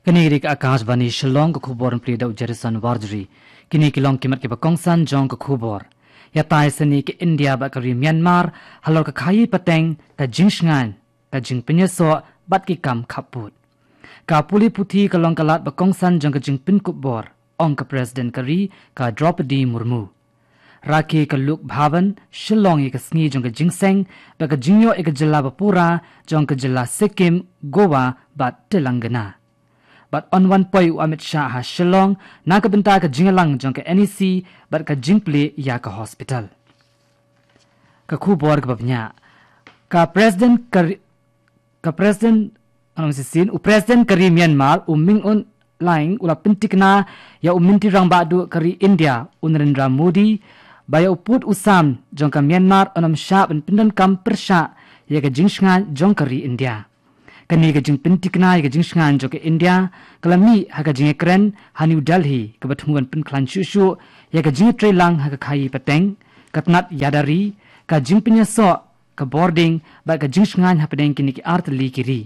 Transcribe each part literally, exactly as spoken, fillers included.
Kane ka dei ka Akashvani Shillong, ka khubor ban pule da u Jerison Warjri. Kine ki long ki mat kiba kongsan jong ka khubor. Ïatai sani ka India bad ka ri Myanmar halor ka khaïi pateng, ka jingshngaiñ, ka jingpynïasoh bad ki kam khappud. Ka pule puthi ka long ka lad ba kongsan jong ka jingpynkup bor, ong ka President ka ri, ka Droupadi Murmu. Rakhe ka Lok Bhavan Shillong ïa ka sngi jong ka jingseng bad ka jingïoh ïa ka jylla ba pura jong ka jylla Sikkim, Goa bad Telangana. Bad yn wan poi u Amit Shah ha Shillong na ka bynta ka jingïalang jong ka NEC bad ka jingplie ïa ka hospital. Ka khubor kaba bniah. Ka President ka ri-, ka President, ano, shisien, u President ka ri Myanmar, u Min Aung Hlaing, u la pyntikna ïa u Myntri Rangbah Duh ka ri India, u Narendra Modi, ba ïa u pud u sam jong ka Myanmar un ym shah ban pyndonkam pyrshah ïa ka jingshngaiñ jong ka ri India. Kane ka jingpyntikna ïa ka jingshngaiñ jong ka India ka la mih ha ka jingïakren ha New Delhi, kaba thmu ban pynkhlaiñ shuh shuh ïa ka jingïatreilang ha ka khaïi pateng, ka tnat ïada ri, ka jingpynïasoh, ka bording bad ka jingshngaiñ hapdeng kine ki artylli ki ri.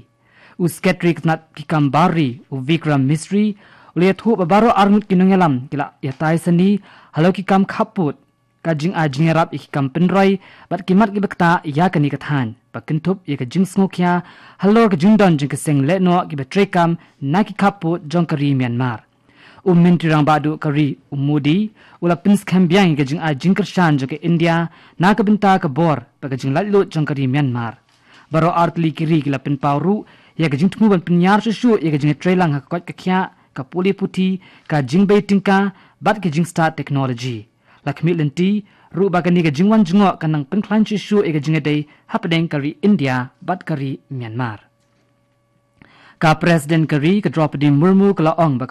U Secretary ka tnat ki kam bar ri, u Vikram Misri, u la ïathuh ba baroh arngut ki nongïalam ki la ïatai sani halor ki kam khappud, ka jingai jingïarap ïa ki kam pynroi bad ki mat kiba ktah ïa kane ka thaiñ, ba kynthup ïa ka jingsngewkhia halor ka jingdon jong ki seng lehnoh kiba treikam na ki khappud jong ka ri Myanmar. U Myntri Rangbah Duh ka ri, u Modi, u la pynskhem biang ïa ka jingai jingkyrshan jong ka India na ka bynta ka bor bad ka jinglaitluid jong ka ri Myanmar. Baroh artylli ki ri ki la pynpaw ruh ïa ka jingthmu ban pynïar shuh shuh ïa ka jingïatreilang ha ka koit ka khiah, ka pule puthi, ka jingbei tyngka bad ka jingstad technology. La khmih lynti ruh ba kane ka jingwan jngoh kan nang pynkhlaiñ shuh shuh ïa ka jingïadei hapdeng ka ri India bad ka ri Myanmar. Ka President ka ri, ka Droupadi Murmu, ka la ong ba